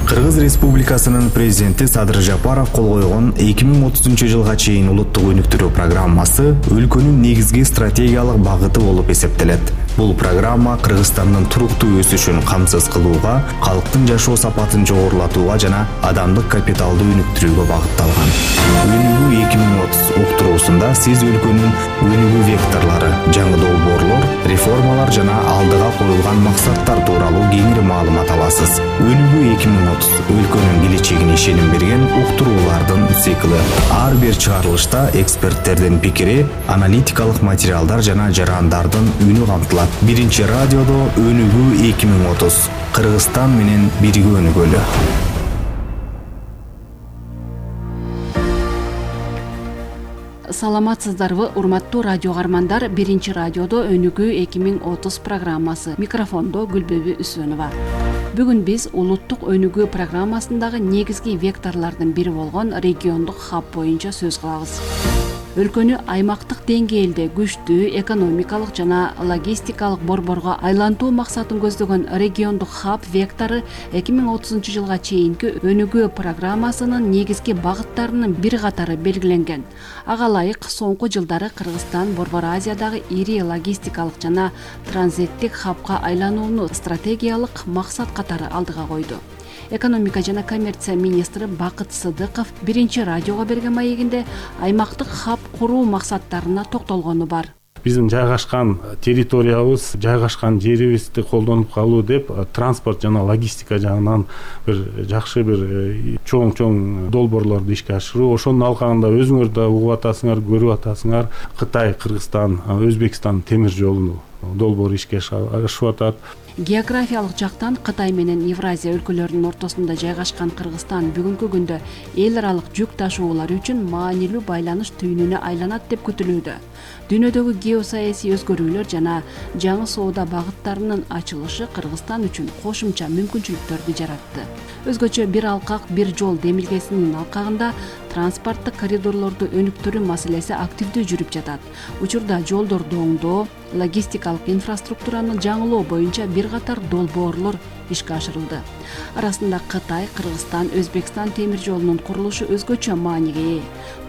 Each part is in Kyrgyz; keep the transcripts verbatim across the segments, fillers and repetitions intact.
Кыргыз Республикасынын президенти Садыр Жапаров кол койгон эки миң отузунчу жылга чейин улуттук өнүктүрүү программасы өлкөнүн негизги стратегиялык багыты болуп эсептелет. Бул программа Кыргызстандын туруктуу өсүшүн камсыз кылууга, калктын жашоо сапатын жогорулатууга жана адамдык капиталды өнүктүрүүгө багытталган. Өнүгүү эки миң отуз уктуруусунда сиз өлкөнүн өнүгүү векторлору, жаңы долбоорлор, реформалар жана алдыга коюлган максаттар тууралуу кеңири маалымат аласыз. Өнүгүү эки миң отуз өлкөнүн келечегине ишеним берген уктуруулардын циклы. Ар бир чыгарылышта эксперттердин пикири, аналитикалык материалдар жана жарандардын үнү камтылат. Биринчи радиодо Өнүгүү эки миң отуз. Кыргызстан менен бирге өнүгөлү. Саламатсыздарбы, урматтуу радио каармандар. Биринчи радиодо Өнүгүү эки миң отуз программасы. Микрофондо Гүлбөбү Үсөнова. Бүгүн биз улуттук өнүгүү программасындагы негизги векторлордун бири болгон региондук хаб боюнча сөз кылабыз. Өлкөнү аймактык деңгээлде күчтүү экономикалык жана логистикалык борборго айлантуу максатын көздөгөн региондук хаб вектору эки миң отузунчу жылга чейинки өнүгүү программасынын негизги багыттарынын бир катары белгиленген. Ага ылайык соңку жылдары Кыргызстан Борбор Азиядагы ири логистикалык жана транзиттик хабка айланууну стратегиялык максат катары алдыга койду. Экономика жана коммерция министри Бакыт Сыдыков биринчи радиого берген маегинде аймактык хаб куруу максаттарына токтолгону бар. Биздин жайгашкан территориябыз, жайгашкан жерибизди колдонуп калуу деп транспорт жана логистика жагынан бир жакшы бир чоң-чоң долбоорлорду ишке ашыруу. Ошонун алкагында өзүңөр да угуп атасыңар, көрүп атасыңар. Кытай, Кыргызстан, Өзбекстан темир жолунун долбоору ишке ашып атат. Географиялык жактан Кытай менен Евразия өлкөлөрүнүн ортосунда жайгашкан Кыргызстан бүгүнкү күндө эл аралык жүк ташуулар үчүн маанилүү байланыш түйүнүнө айланат деп күтүлүүдө. Дүйнөдөгү геосаясий өзгөрүүлөр жана жаңы соода багыттарынын ачылышы Кыргызстан үчүн кошумча мүмкүнчүлүктөрдү жаратты. Өзгөчө бир алкак, бир жол демилгесинин алкагында транспорттук коридорлорду өнүктүрүү маселеси активдүү жүрүп жатат. Учурда жолдорду оңдоо, логистикалык инфраструктураны жаңылоо боюнча бир катар долбоорлор ишке ашырылды. Арасында Кытай, Кыргызстан, Өзбекстан темир жолунун курулушу өзгөчө мааниге ээ.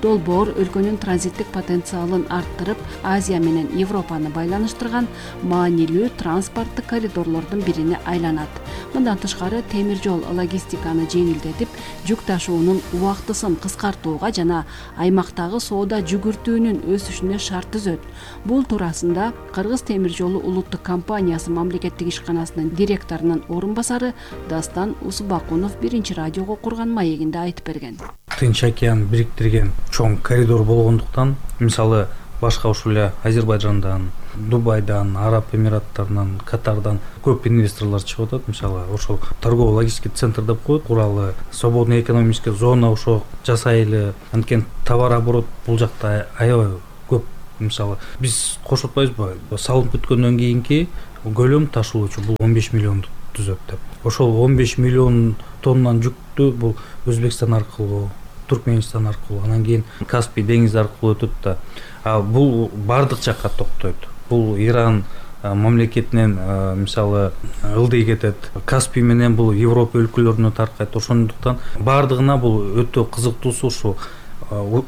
Долбоор өлкөнүн транзиттик потенциалын арттырып, Азия менен Европаны байланыштырган маанилүү транспорттук коридорлордун бирине айланат. Мындан тышкары темир жол логистиканы жеңилдетип, жүк ташуунун убактысын кыскартууга жана аймактагы соода жүгүртүүнүн өсүшүнө шарт түзөт. Бул туурасында Кыргыз темир жолу улуттук компаниясы мамлекеттик ишканасынын директорунун орун басары Дастан Усубакунов биринчи радиого курган маегинде айтып берген. Тынч океан бириктирген чоң коридор болгондуктан, мисалы башка ушул эле Азербайжандан, Дубайдан, Араб Эмираттарынан, Катардан көп инвесторлор чыгып атат. Мисалы ошол торгово-логистика центр деп коет, куралы, свободный экономический зона ошо жасайлы. Анткени товар оборот бул жакта аябай көп. Мисалы биз кошуп атпайбызбы, салынып бүткөндөн кийинки көлөм ташуулучу бул он беш миллионду түзөт деп. Ошол он беш миллион тоннан жүктү бул Өзбекстан аркылуу, Туркменистан аркылуу, анан кийин Каспий деңизи аркылуу өтөт да. А бул бардык жакка токтойт. Бул Иран мамлекетинен мисалы ылдый кетет. Каспий менен бул Европа өлкөлөрүнө таркайт. Ошондуктан бардыгына бул өтө кызыктуусу ушул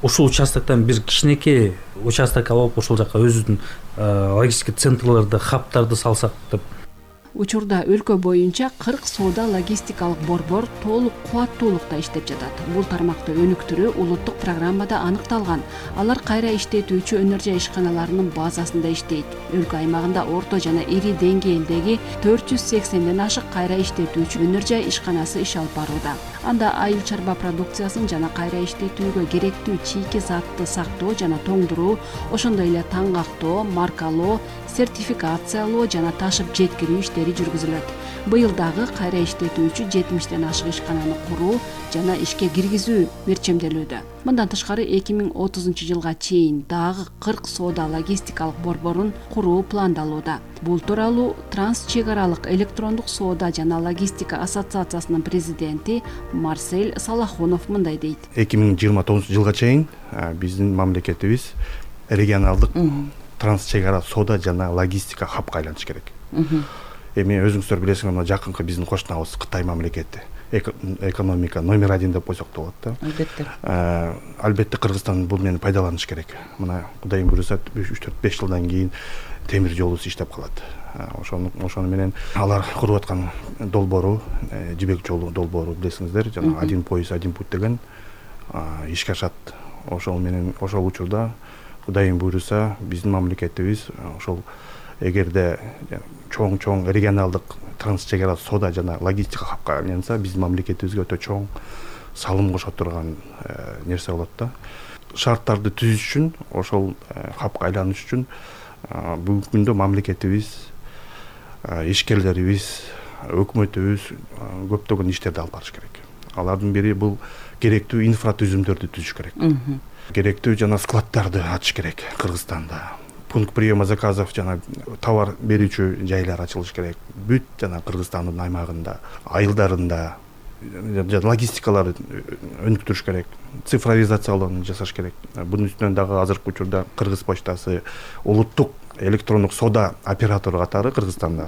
ушул участоктон бир кичинекей участок алып ошол жака өзүбүздүн логистика центрлерди, хабтарды салсак деп. Учурда өлкө боюнча кырк соода логистикалык борбор толук кубаттуулукта иштеп жатат. Бул тармакты өнүктүрүү улуттук программада аныкталган. Алар кайра иштетүүчү өнөр жай ишканаларынын базасында иштейт. Өлкө аймагында орто жана ири деңгээлдеги төрт жүз сексенден ашык кайра иштетүүчү өнөр жай ишканасы иш алып барууда. Анда айыл чарба продукциясын жана кайра иштетүүгө керектүү чийки затты сактоо жана тоңдуруу, ошондой эле таңгактоо, маркалоо, сертификациялоо жана ташып жеткирүү иштери жүргүзүлөт. Быйыл дагы кайра иштетүүчү жетимиштен ашык ишкананы куруу жана ишке киргизүү мерчемделүүдө. Мындан тышкары эки миң отузунчу жылга чейин дагы кырк соода логистикалык борборун куруу пландалууда. Бул тууралуу Транс чек аралык электрондук соода жана логистика ассоциациясынын президенти Марсель Салахунов мындай дейт. эки миң жыйырма тогузунчу жылга чейин биздин мамлекетибиз регионалдык транс чек ара соода жана логистика хабка айланыш керек. эми өзүңүздөр билесиңер, мына жакынкы биздин кошунабыз Кытай мамлекети экономика номер один деп койсок да болот да. Албетте. Албетте Кыргызстан бул мени пайдаланыш керек. Мына Кудайым буйруса үч төрт беш жылдан кийин темир жолубуз иштеп калат. Ошону ошону менен алар куруп аткан долбоору, жибек жолу долбоору билесиңиздер, жана один пояс один путь деген ишке ашат. Ошол менен ошол учурда Кудайым буйруса биздин мамлекетибиз ошол эгерде чоң-чоң регионалдык транс чек ара соода жана логистика хабка айланса, биздин мамлекетибизге өтө чоң салым кошо турган нерсе болот да. Шарттарды түзүш үчүн, ошол хабка айланыш үчүн бүгүнкү күндө мамлекетибиз, ишкерлерибиз, өкмөтүбүз көптөгөн иштерди алып барыш керек. Алардын бири бул керектүү инфратүзүмдөрдү түзүш керек. Керектүү жана складдарды ачыш керек Кыргызстанда. Пункт приема заказов жана товар берүүчү жайлар ачылыш керек. Бүт жана Кыргызстандын аймагында, айылдарында логистикаларды өнүктүрүш керек. Цифровизациялоону жасаш керек. Бунун үстүнөн дагы азыркы учурда Кыргыз почтасы улуттук электрондук соода оператору катары Кыргызстанда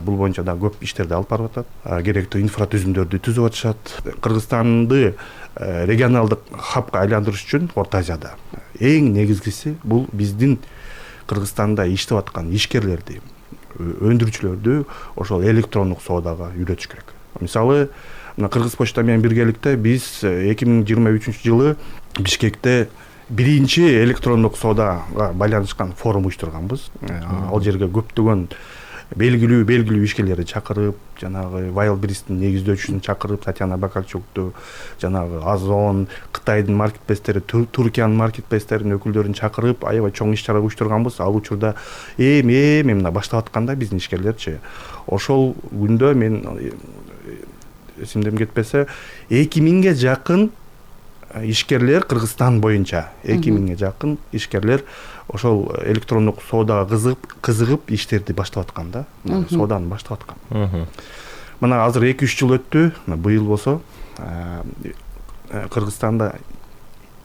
бул боюнча да көп иштерди алып барып атат. Керектүү инфратүзүмдөрдү түзүп атышат. Кыргызстанды регионалдык хабка айландырыш үчүн Орто Азияда эң негизгиси бул биздин Кыргызстанда иштеп аткан ишкерлерди, өндүрүүчүлөрдү ошол электрондук соодага үйрөтүш керек. Мисалы, мына Кыргыз почта менен биргеликте биз эки миң жыйырма үчүнчү жылы Бишкекте биринчи электрондук соодага байланышкан форум уюштурганбыз. Ал жерге көптөгөн белгилүү белгилүү ишкерлерди чакырып, жанагы Wildberries'тин негиздөөчүсүн чакырып, Татьяна Бакарчукту, жанагы Озон, Кытайдын маркетплейстери, Туркиянын маркетплейстеринин өкүлдөрүн чакырып, аябай чоң иш-чара уюштурганбыз. Ал учурда эми-эми мына баштап атканда биздин ишкерлерчи. Ошол күндө мен эсимден кетпесе, эки миңге жакын ишкерлер Кыргызстан боюнча эки миңге жакын ишкерлер ошол электрондук соодага кызыгып, кызыгып иштерди баштап аткан да. Сооданы баштап аткан. Мына азыр эки үч жыл өттү. Быйыл болсо Кыргызстанда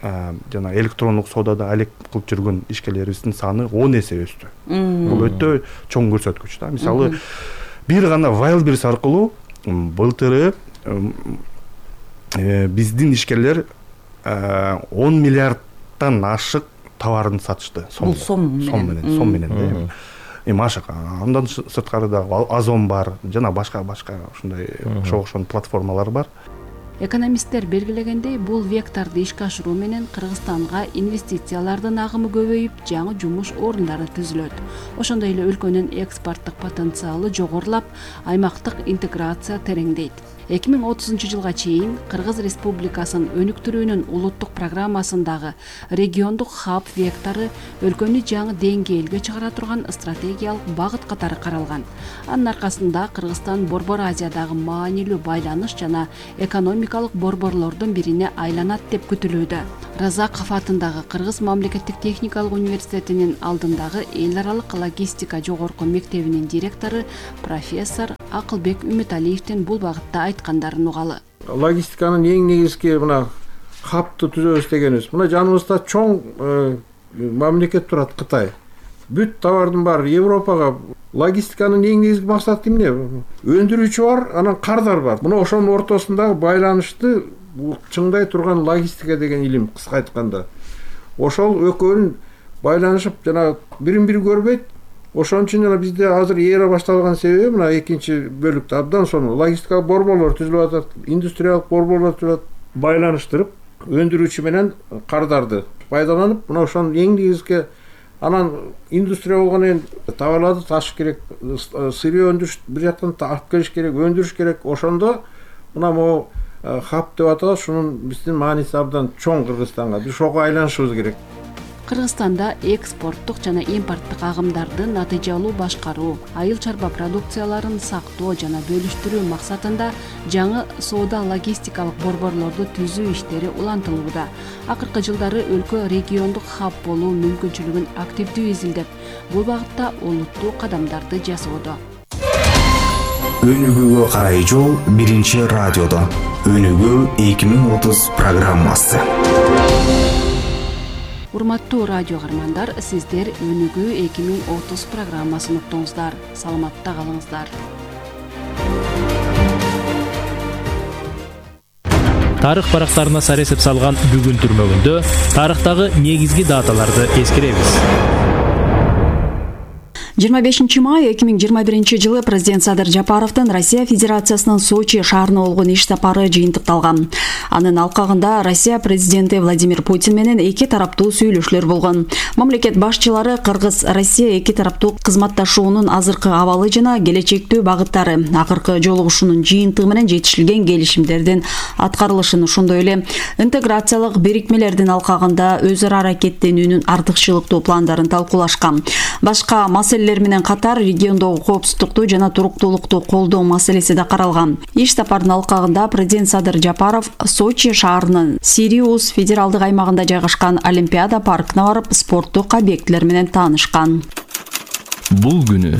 жана электрондук соодада алек кылып жүргөн ишкерлерибиздин саны он эсе өстү. Бул өтө чоң көрсөткүч да. Мисалы, бир гана Wildberries аркылуу былтыры биздин ишкерлер он миллиардтан ашык товарын сатышты. Бул сом менен, сом менен да. Эми ашык. Андан сырткары да Озон бар, жана башка-башка ушундай ошо-ошон платформалар бар. Экономисттер белгилегендей, бул векторду ишке ашыруу менен Кыргызстанга инвестициялардын агымы көбөйүп, жаңы жумуш орундары түзүлөт. Ошондой эле өлкөнүн экспорттук потенциалы жогорулап, аймактык интеграция тереңдейт. эки миң отузунчу жылга чейин Кыргыз Республикасын өнүктүрүүнүн улуттук программасындагы региондук хаб вектору өлкөнү жаңы деңгээлге чыгара турган стратегиялык багыт катары каралган. Анын аркасында Кыргызстан Борбор Азиядагы маанилүү байланыш жана экономикалык борборлордун бирине айланат деп күтүлүүдө. Разаков атындагы Кыргыз мамлекеттик техникалык университетинин алдындагы эл аралык логистика жогорку мектебинин директору профессор Акылбек Үмүталиевдин бул багытта айткандарын угалы. Логистиканын эң негизги мына хабты түзөбүз дегенибиз. Мына жаныбызда чоң мамлекет турат, Кытай. Бүт товардын баары Европага. Логистиканын эң негизги максаты эмне? Өндүрүүчү бар, анан кардар бар. Мына ошонун ортосундагы байланышты чыңдай турган логистика деген илим, кыска айтканда. Ошол экөөнүн байланышып жана бирин-бири көрбөйт. Ошон үчүн жана бизде азыр эра башталган себеби мына экинчи бөлүктө абдан сонун логистикалык борборлор түзүлүп атат, индустриялык борборлор түзүлүп, байланыштырып, өндүрүүчү менен кардарды пайдаланып, мына ошонун эң негизги анан индустрия болгондон кийин товарларды ташыш керек, сырье өндүрүш бир жактан алып келиш керек, өндүрүш керек. Ошондо мына могу хаб деп аталат, шунун биздин мааниси абдан чоң Кыргызстанга. Биз ошого айланышыбыз керек. Кыргызстанда экспорттук жана импорттук агымдарды натыйжалуу башкаруу, айыл чарба продукцияларын сактоо жана бөлүштүрүү максатында жаңы соода логистикалык борборлорду түзүү иштери улантылууда. Акыркы жылдары өлкө региондук хаб болуу мүмкүнчүлүгүн активдүү изилдеп, бул багытта олуттуу кадамдарды жасоодо. Өнүгүүгө карай жол биринчи радиодо. Өнүгүү эки миң отуз программасы. Урматтуу радио каармандар, сиздер Өнүгүү эки миң отуз программасын уктуңуздар. Саламатта калыңыздар. тарых барактарына саресеп салган бүгүн түрмөгүндө тарыхтагы негизги даталарды эскеребиз. жыйырма бешинчи май эки миң жыйырма биринчи жылы президент Садыр Жапаровдун Россия Федерациясынын Сочи шаарына болгон иш сапары жыйынтыкталган. Анын алкагында Россия президенти Владимир Путин менен эки тараптуу сүйлөшүүлөр болгон. Мамлекет башчылары Кыргыз-Россия эки тараптуу кызматташуунун азыркы абалы жана келечектүү багыттары, акыркы жолугушуунун жыйынтыгы менен жетишилген келишимдердин аткарылышын, ошондой эле интеграциялык бирикмелердин алкагында өз ара аракеттенүүнүн артыкчылыктуу пландарын талкуулашкан. Башка маселелер менен катар региондогу коопсуздукту жана туруктуулукту колдоо маселеси да каралган. Иш сапардын алкагында президент Садыр Жапаров Сочи шаарынын Сириус федералдык аймагында жайгашкан Олимпиада паркына барып, спорттук объектилер менен таанышкан. Бул күнү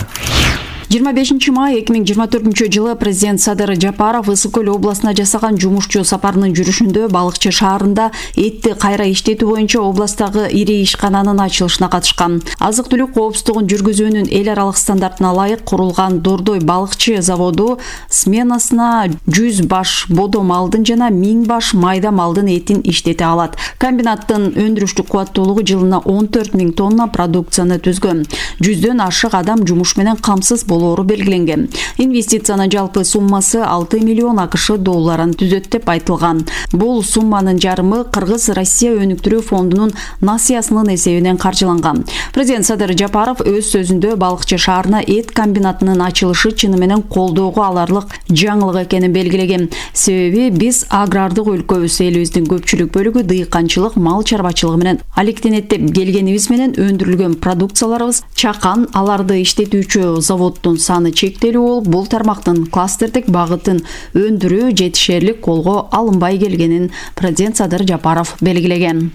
жыйырма бешинчи май эки миң жыйырма төртүнчү жылы президент Садыр Жапаров Ысык көл областына жасаган жумушчу сапарынын жүрүшүндө Балыкчы шаарында этти кайра иштетүү боюнча областагы ири ишкананын ачылышына катышкан. Азык-түлүк коопсуздугун жүргүзүүнүн эл аралык стандартына ылайык курулган Дордой Балыкчы заводу сменасына жүз баш бодо малдын жана миң баш майда малдын этин иштете алат. Комбинаттын өндүрүштүк кубаттуулугу жылына он төрт миң тонна продукцияны түзгөн. жүздөн ашык адам жумуш менен камсыз болоору белгиленген. Инвестициянын жалпы суммасы алты миллион АКШ долларын түзөт деп айтылган. Бул сумманын жарымы Кыргыз-Россия өнүктүрүү фондунун насыясынын эсебинен каржыланган. Президент Садыр Жапаров өз сөзүндө Балыкчы шаарына эт комбинатынын ачылышы чыны менен колдоого аларлык жаңылык экенин белгилеген. Себеби биз агрардык өлкөбүз, элибиздин көпчүлүк бөлүгү дыйканчылык, мал чарбачылыгы менен алектенет деп келгенибиз менен өндүрүлгөн продукцияларыбыз чакан, аларды иштетүүчү заводдун саны чектелүү болуп, бул тармактын кластердик багытын өндүрүү жетишерлик колго алынбай келгенин президент Садыр Жапаров белгилеген.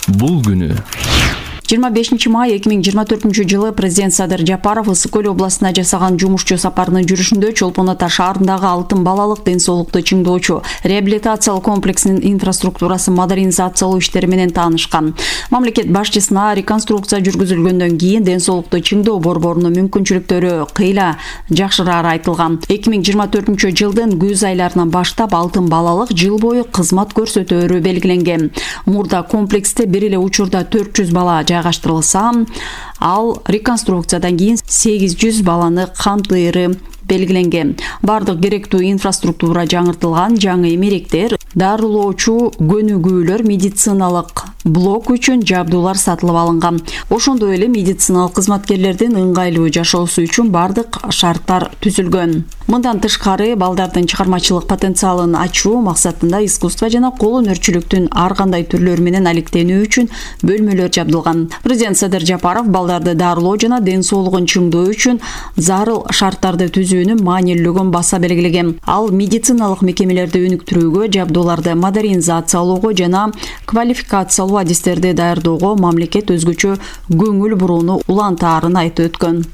Бул күнү жыйырма бешинчи май эки миң жыйырма төртүнчү жылы президент Садыр Жапаров Ысык көл областына жасаган жумушчу сапарынын жүрүшүндө Чолпон Ата шаарындагы Алтын балалык ден соолукту чыңдоочу реабилитациялык комплексинин инфраструктурасын модернизациялоо иштери менен таанышкан. Мамлекет башчысына реконструкция жүргүзүлгөндөн кийин ден соолукту чыңдоо борборунун мүмкүнчүлүктөрү кыйла жакшырары айтылган. эки миң жыйырма төртүнчү жылдын күз айларынан баштап Алтын балалык жыл бою кызмат көрсөтөөрү белгиленген. Мурда комплексте бир эле учурда төрт жүз бала жайгаштырылса, ал реконструкциядан кийин сегиз жүз баланы камтыйры белгиленген. Бардык керектүү инфраструктура жаңыртылган, жаңы эмеректер, дарылоочу көнүгүүлөр, медициналык блок үчүн жабдуулар сатылып алынган. Ошондой эле медициналык кызматкерлердин ыңгайлуу жашоосу үчүн бардык шарттар түзүлгөн. Мындан тышкары, балдардын чыгармачылык потенциалын ачуу максатында искусство жана кол өнөрчүлүктүн ар кандай түрлөрү менен алектенүү үчүн бөлмөлөр жабдылган. Президент Садыр Жапаров балдарды дарылоо жана ден соолугун чыңдоо үчүн зарыл шарттарды түзүүнүн маанилүүлүгүн баса белгилеген. Ал медициналык мекемелерди өнүктүрүүгө, жабдууларды модернизациялоого жана квалификациялуу адистерди даярдоого мамлекет өзгөчө көңүл бурууну улантаарын айтып өткөн.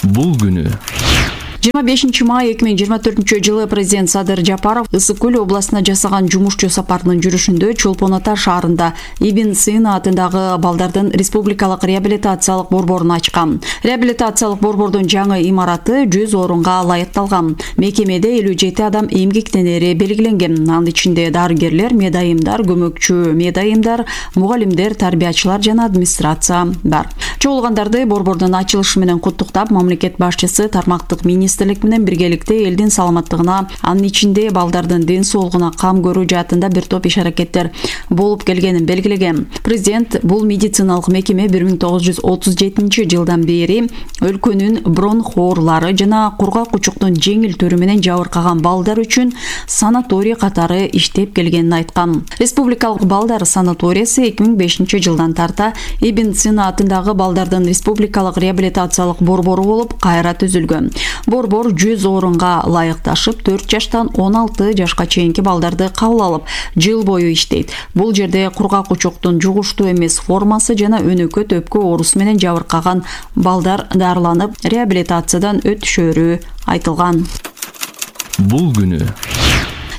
Бул күнү жыйырма бешинчи май эки миң жыйырма төртүнчү жылы президент Садыр Жапаров Ысык көл областына жасаган жумушчу сапарынын жүрүшүндө Чолпон Ата шаарында Ибн Сина атындагы балдардын республикалык реабилитациялык борборун ачкан. Реабилитациялык борбордун жаңы имараты жүз орунга ылайыкталган. Мекемеде элүү жети адам эмгектенери белгиленген. Анын ичинде дарыгерлер, медайымдар, көмөкчү медайымдар, мугалимдер, тарбиячылар жана администрация бар. Чогулгандарды борбордун ачылышы менен куттуктап, мамлекет башчысы тармактык министрлик менен биргеликте элдин саламаттыгына, анын ичинде балдардын ден соолугуна кам көрүү жаатында бир топ иш-аракеттер болуп келгенин белгилеген. Президент бул медициналык мекеме бир миң тогуз жүз отуз жетинчи жылдан бери өлкөнүн бронх оорулары жана кургак кучуктун жеңил түрү менен жабыркаган балдар үчүн санаторий катары иштеп келгенин айткан. Республикалык балдар санаториясы эки миң бешинчи жылдан тарта Ибн Сина атындагы балдардын республикалык реабилитациялык борбору болуп кайра түзүлгөн. Борбор жүз орунга ылайыкташып, төрт жаштан он алты жашка чейинки балдарды кабыл алып, жыл бою иштейт. Бул жерде кургак кучуктун жугуштуу эмес формасы жана өнөкө төпкө оорусу менен жабыркаган балдар дарыланып, реабилитациядан өтүшөрү айтылган. Бул күнү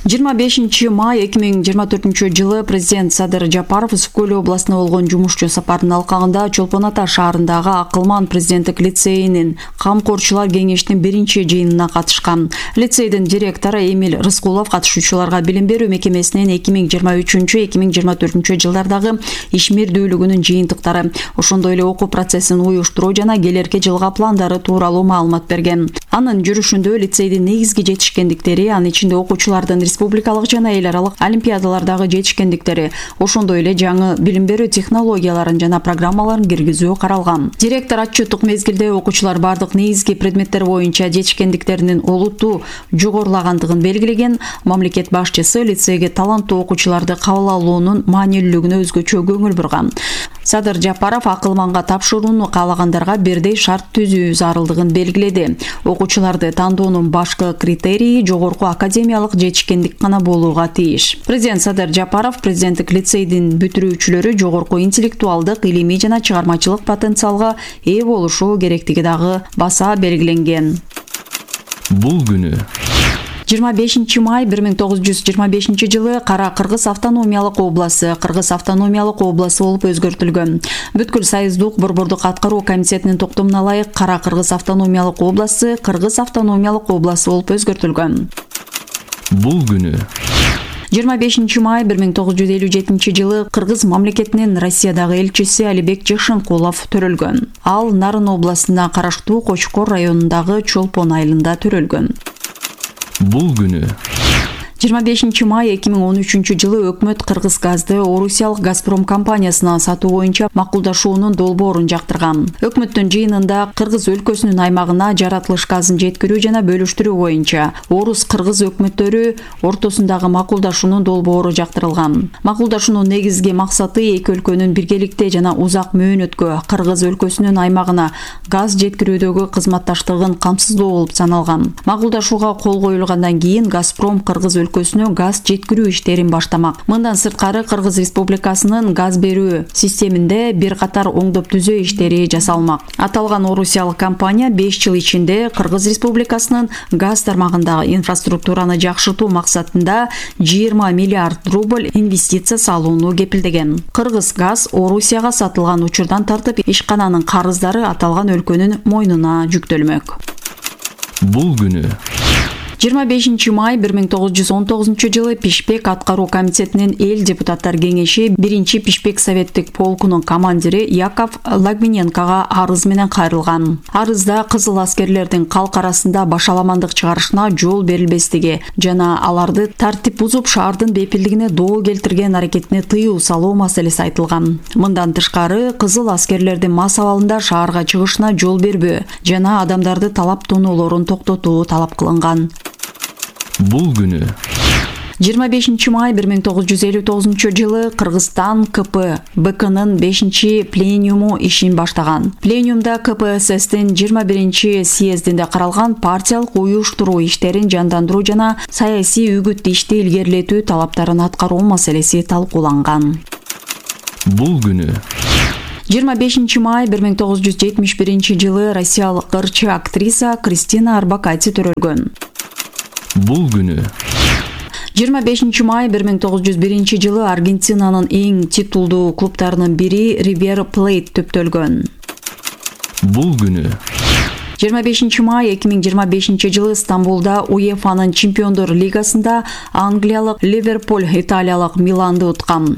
жыйырма бешинчи май эки миң жыйырма төртүнчү жылы президент Садыр Жапаров Үскө көл областына болгон жумушчу сапарынын алкагында Чолпон Ата шаарындагы Акылман президенттик лицейинин камкорчулар кеңешинин биринчи жыйынына катышкан. Лицейдин директору Эмиль Рыскулов катышуучуларга билим берүү мекемесинин эки миң жыйырма үчүнчү эки миң жыйырма төртүнчү жылдардагы ишмердүүлүгүнүн жыйынтыктары, ошондой эле окуу процессин уюштуруу жана келерки жылга пландары тууралуу маалымат берген. Анын жүрүшүндө лицейдин негизги жетишкендиктери, анын ичинде окуучулардын республикалык жана эл аралык олимпиадалардагы жетишкендиктери, ошондой эле жаңы билим берүү технологияларын жана программаларын киргизүү каралган. Директор отчеттук мезгилде окуучулар бардык негизги предметтер боюнча жетишкендиктеринин олуттуу жогорулагандыгын белгилеген. Мамлекет башчысы лицейге таланттуу окуучуларды кабыл алуунун маанилүүлүгүнө өзгөчө көңүл бурган. Садыр Жапаров Акылманга тапшырууну каалагандарга бирдей шарт түзүү зарылдыгын белгиледи. Окуучуларды тандоонун башкы критерийи жогорку академиялык жетишкендик гана болууга тийиш. Президент Садыр Жапаров президенттик лицейдин бүтүрүүчүлөрү жогорку интеллектуалдык, илимий жана чыгармачылык потенциалга ээ болушу керектиги дагы баса белгиленген. Бул күнү жыйырма бешинчи май бир миң тогуз жүз жыйырма бешинчи жылы Кара Кыргыз автономиялык областы Кыргыз автономиялык областы болуп өзгөртүлгөн. Бүткүл Союздук борбордук аткаруу комитетинин токтомуна ылайык Кара Кыргыз автономиялык областы Кыргыз автономиялык областы болуп өзгөртүлгөн. Бул күнү жыйырма бешинчи май бир миң тогуз жүз элүү жетинчи жылы Кыргыз мамлекетинин Россиядагы элчиси Алибек Жакшынкулов төрөлгөн. Ал Нарын областына караштуу Кочкор районундагы Чолпон айылында төрөлгөн. Бул күнү жыйырма бешинчи май эки миң он үчүнчү жылы өкмөт Кыргыз газды Орусиялык Газпром компаниясына сатуу боюнча макулдашуунун долбоорун жактырган. Өкмөттүн жыйынында Кыргыз өлкөсүнүн аймагына жаратылыш газын жеткирүү жана бөлүштүрүү боюнча Орус Кыргыз өкмөттөрү ортосундагы макулдашуунун долбоору жактырылган. Макулдашуунун негизги максаты эки өлкөнүн биргеликте жана узак мөөнөткө Кыргыз өлкөсүнүн аймагына газ жеткирүүдөгү кызматташтыгын камсыздоо болуп саналган. Макулдашууга кол коюлгандан кийин Газпром Кыргыз өлкөсүнө газ жеткирүү иштерин баштамак. Мындан сырткары Кыргыз Республикасынын газ берүү системинде бир катар оңдоп түзөө иштери жасалмак. Аталган орусиялык компания беш жыл ичинде Кыргыз Республикасынын газ тармагындагы инфраструктураны жакшыртуу максатында жыйырма миллиард рубль инвестиция салууну кепилдеген. Кыргыз газ Орусияга сатылган учурдан тартып ишкананын карыздары аталган өлкөнүн мойнуна жүктөлмөк. Бул күнү жыйырма бешинчи май бир миң тогуз жүз он тогузунчу жылы Пишпек аткаруу комитетинин эл депутаттар кеңеши биринчи Пишпек советтик полкунун командири Яков Лагвиненкого арыз менен кайрылган. Арызда кызыл аскерлердин калк арасында башаламандык чыгарышына жол берилбестиги жана аларды тартип бузуп шаардын бепилдигине доо келтирген аракетине тыюу салуу маселеси айтылган. Мындан тышкары кызыл аскерлердин мас абалында шаарга чыгышына жол бербөө жана адамдарды талап тоноолорун токтотуу талап кылынган. Бул күнү жыйырма бешинчи май бир миң тогуз жүз элүү тогузунчу жылы Кыргызстан ка пэ бэ кынын бешинчи пленуму ишин баштаган. Пленумда ка пэ эс эстин жыйырма биринчи съездинде каралган партиялык уюштуруу иштерин жандандыруу жана саясий үгүт ишти илгерилетүү талаптарын аткаруу маселеси талкууланган. Бул күнү жыйырма бешинчи май бир миң тогуз жүз жетимиш биринчи жылы россиялык ырчы актриса Кристина Арбакайте төрөлгөн. Бул күнү жыйырма бешинчи май бир миң тогуз жүз биринчи жылы Аргентинанын эң титулдуу клубтарынын бири Ривер Плейт төптөлгөн. Бул күнү жыйырма бешинчи май эки миң жыйырма бешинчи жылы Стамбулда УЕФАнын Чемпиондор лигасында англиялык Ливерпуль италиялык Миланды уткан.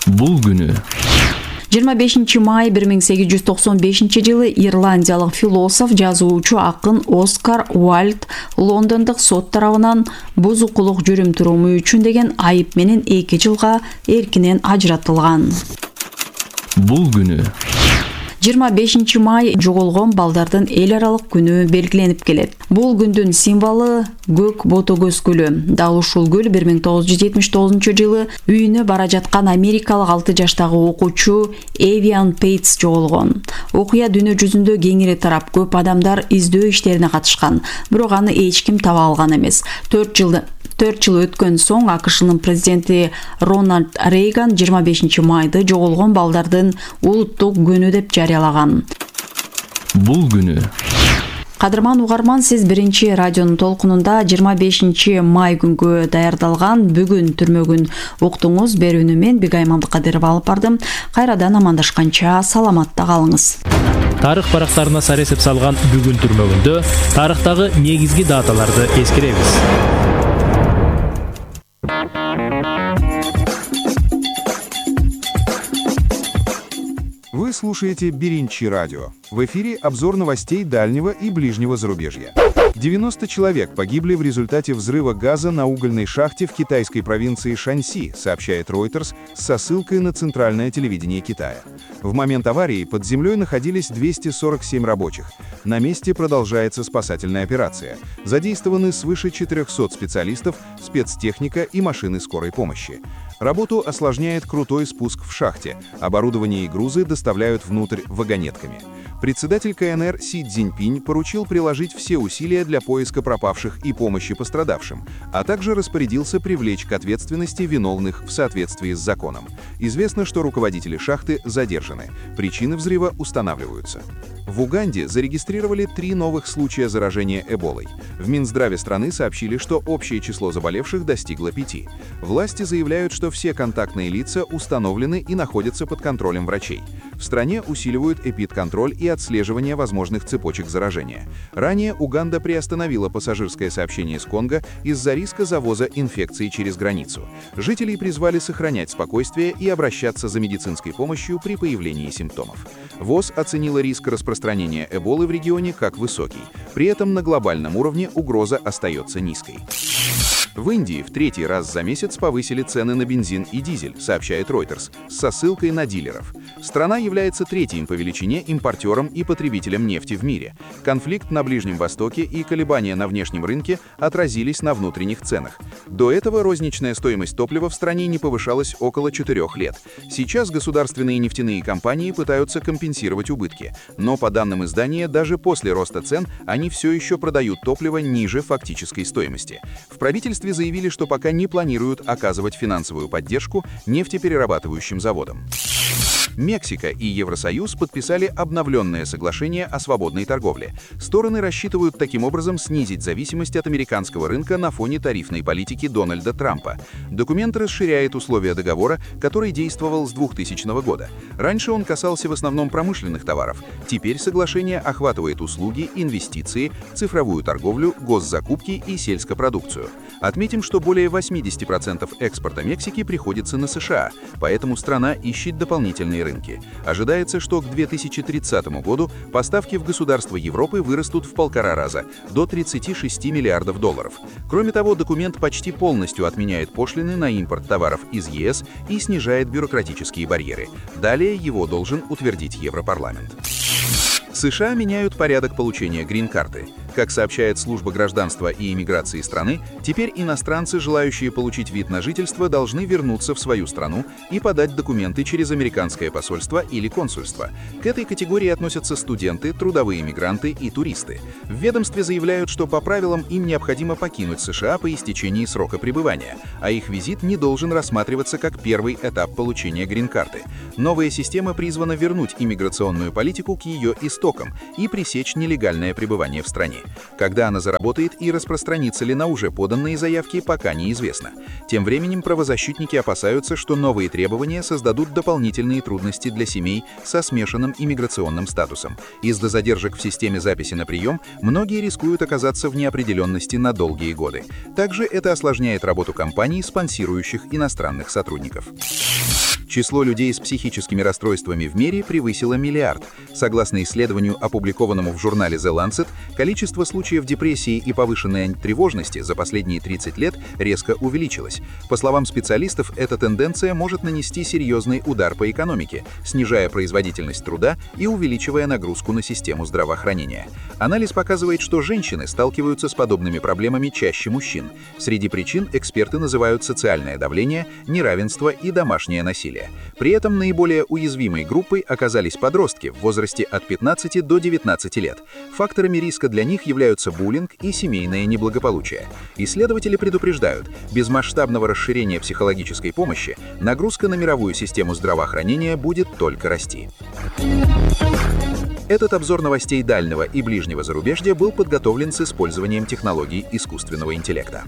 Бул күнү жыйырма бешинчи май бир миң сегиз жүз токсон бешинчи жылы ирландиялык философ, жазуучу, акын Оскар Уайлд Лондондук сот тарабынан бузукулук жүрүм-туруму үчүн деген айып менен эки жылга эркинен ажыратылган. Бул күнү жыйырма бешинчи май жоголгон балдардын эл аралык күнү белгиленип келет. Бул күндүн символу көк ботогөз гүлү. Дал ушул гүл бир миң тогуз жүз жетимиш тогузунчу жылы үйүнө бара жаткан америкалык алты жаштагы окуучу Эвиан Пейтс жоголгон. Окуя дүйнө жүзүндө кеңири тарап, көп адамдар издөө иштерине катышкан, бирок аны эч ким таба алган эмес. төрт жылда төрт жыл өткөн соң АКШнын президенти Рональд Рейган жыйырма бешинчи майды жоголгон балдардын улуттук күнү деп жарыялаган. Бул күнү Кадырман угарман, сиз биринчи радионун толкунунда жыйырма бешинчи май күнгө даярдалган бүгүн түрмөгүн уктуңуз. Берүүнү мен Бигайым Абдыкадырова алып бардым. Кайрадан амандашканча саламатта калыңыз. Тарых барактарына сар эсеп салган бүгүн түрмөгүндө тарыхтагы негизги даталарды эскеребиз. Вы слушаете Биринчи радио. В эфире обзор новостей дальнего и ближнего зарубежья. девяносто человек погибли в результате взрыва газа на угольной шахте в китайской провинции Шаньси, сообщает Reuters со ссылкой на центральное телевидение Китая. В момент аварии под землей находились двести сорок семь рабочих. На месте продолжается спасательная операция. Задействованы свыше четырехсот специалистов, спецтехника и машины скорой помощи. Работу осложняет крутой спуск в шахте. Оборудование и грузы доставляют внутрь вагонетками. Председатель КНР Си Цзиньпинь поручил приложить все усилия для поиска пропавших и помощи пострадавшим, а также распорядился привлечь к ответственности виновных в соответствии с законом. Известно, что руководители шахты задержаны. Причины взрыва устанавливаются. В Уганде зарегистрировали три новых случая заражения эболой. В Минздраве страны сообщили, что общее число заболевших достигло пяти. Власти заявляют, что все контактные лица установлены и находятся под контролем врачей. В стране усиливают эпидконтроль и отслеживание возможных цепочек заражения. Ранее Уганда приостановила пассажирское сообщение с Конго из-за риска завоза инфекции через границу. Жителей призвали сохранять спокойствие и обращаться за медицинской помощью при появлении симптомов. ВОЗ оценила риск распространения эболы в регионе как высокий. При этом на глобальном уровне угроза остается низкой. В Индии в третий раз за месяц повысили цены на бензин и дизель, сообщает Reuters, со ссылкой на дилеров. Страна является третьим по величине импортером и потребителем нефти в мире. Конфликт на Ближнем Востоке и колебания на внешнем рынке отразились на внутренних ценах. До этого розничная стоимость топлива в стране не повышалась около четырех лет. Сейчас государственные нефтяные компании пытаются компенсировать убытки, но по данным издания, даже после роста цен они все еще продают топливо ниже фактической стоимости. В правительстве заявили, что пока не планируют оказывать финансовую поддержку нефтеперерабатывающим заводам. Мексика и Евросоюз подписали обновленное соглашение о свободной торговле. Стороны рассчитывают таким образом снизить зависимость от американского рынка на фоне тарифной политики Дональда Трампа. Документ расширяет условия договора, который действовал с двухтысячного года. Раньше он касался в основном промышленных товаров. Теперь соглашение охватывает услуги, инвестиции, цифровую торговлю, госзакупки и сельскопродукцию. Отметим, что более восемьдесят процентов экспорта Мексики приходится на США, поэтому страна ищет дополнительные рынки. Ожидается, что к две тысячи тридцатому году поставки в государства Европы вырастут в полтора раза, до тридцати шести миллиардов долларов. Кроме того, документ почти полностью отменяет пошлины на импорт товаров из ЕС и снижает бюрократические барьеры. Далее его должен утвердить Европарламент. США меняют порядок получения грин-карты. Как сообщает служба гражданства и иммиграции страны, теперь иностранцы, желающие получить вид на жительство, должны вернуться в свою страну и подать документы через американское посольство или консульство. К этой категории относятся студенты, трудовые мигранты и туристы. В ведомстве заявляют, что по правилам им необходимо покинуть США по истечении срока пребывания, а их визит не должен рассматриваться как первый этап получения грин-карты. Новая система призвана вернуть иммиграционную политику к ее истокам и пресечь нелегальное пребывание в стране. Когда она заработает и распространится ли на уже поданные заявки, пока неизвестно. Тем временем правозащитники опасаются, что новые требования создадут дополнительные трудности для семей со смешанным иммиграционным статусом. Из-за задержек в системе записи на прием многие рискуют оказаться в неопределенности на долгие годы. Также это осложняет работу компаний, спонсирующих иностранных сотрудников. Число людей с психическими расстройствами в мире превысило миллиард. Согласно исследованию, опубликованному в журнале The Lancet, количество случаев депрессии и повышенной тревожности за последние тридцать лет резко увеличилось. По словам специалистов, эта тенденция может нанести серьезный удар по экономике, снижая производительность труда и увеличивая нагрузку на систему здравоохранения. Анализ показывает, что женщины сталкиваются с подобными проблемами чаще мужчин. Среди причин эксперты называют социальное давление, неравенство и домашнее насилие. При этом наиболее уязвимой группой оказались подростки в возрасте от пятнадцати до девятнадцати лет. Факторами риска для них являются буллинг и семейное неблагополучие. Исследователи предупреждают, без масштабного расширения психологической помощи нагрузка на мировую систему здравоохранения будет только расти. Этот обзор новостей дальнего и ближнего зарубежья был подготовлен с использованием технологий искусственного интеллекта.